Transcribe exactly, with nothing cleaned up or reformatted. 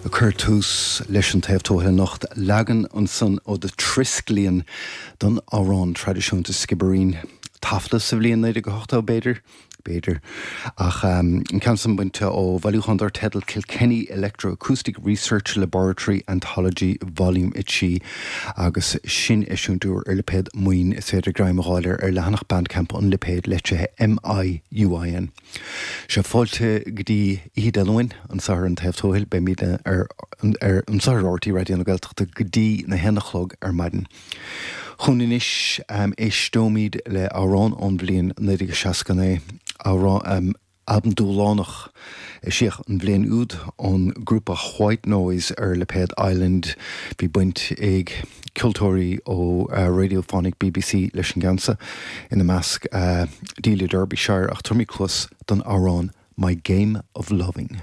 A chuir tús leis an Taobh Tuaithe anocht leagan ansan ó The Triskellian don amhrán traidisiúnta Skibbereen. Taifeadta sa bhliain naoi déag ochtó b'fhéidir, b'fhéidir ach um, an ceann san bainte ó bhailiúchán dar teideal Kilkenny Electroacoustic Research Laboratory Anthology Volume a trí agus sin eisiúint úr ar lipéad Maoin is féidir greim a fháil ar leathanach Bandcamp an lipéad leitrithe MIUIN. Sé fáilte go dtí Oíche Dé Luain anseo ar an Taobh Tuathail beimid ar ar anseo ar RTÉ Raidió na Gaeltachta go dtí na haon a chlog ar maidin. Chun anois um, éisteoimid le amhrán ón bhliain naoi déag seasca naoi amhrán um, albam dúshlánach eisíodh an bhliain úd ón grúpa White Noise ar lipéad Island bhí baint ag ceoltóirí ó uh, Radiophonic BBC leis an gceann seo ina measc uh, Delia Derbyshire ach tabharfaimid cluas don amhrán My Game of Loving.